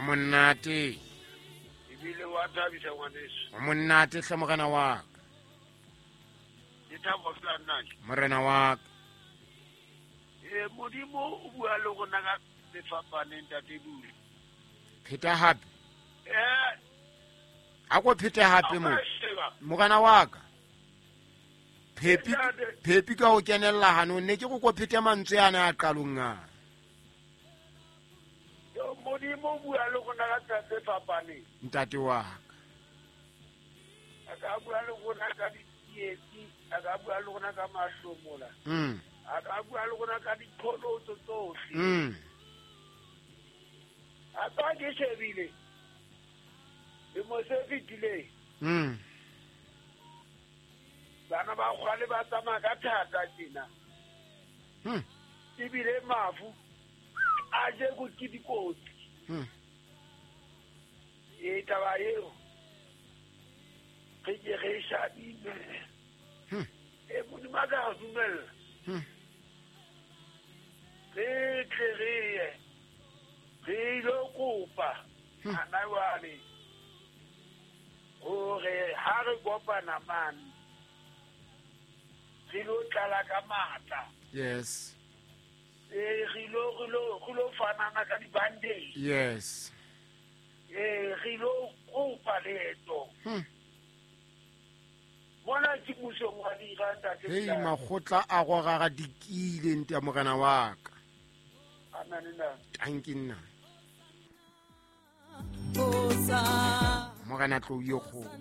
Monate. Ebile wa thabisa, ngwaneso. O monate hle, morena wa ka. Ke thabo fela nnake. Morena wa ka. Ee, Modimo o bua le rona ka sefapaneng, ntate Dule. Pheta hape. Ee. A ko phete hape mo. Sheba. Morena wa ka. Phepi. Ntate. Phepi ka ho kenella hanong, ne ke go ko phete mantswe ana a qalong a. Yo, Modimo o bua le rona ka tsela tse fapaneng. Ntate wa ka. A ka bua le rona ka ditsietsi, a ka bua le rona ka mahlomola, a ka bua le rona ka diqholotso tsohle. A ka ke shebile lemo se fetileng, bana ba kgwale ba tsamaya ka thata tjena. Ebile mafu a jeko ke dikotsi. E taba eo re ke re e shadime. E Modimo a ka re dumella, re tle re ye re ilo kopa hana jwale hore ha re kopana mane re lo tlala ka matla. Ee, re lo fanana ka di-bandage. Ee, re lo kopa leeto. Mona ke musong wa dira, ntate. Hei. Bilal. Makgotla a gogaga dikile nte morena wa ka. Amen, ntate. Tanki nna. Morena tlou ye kgolo.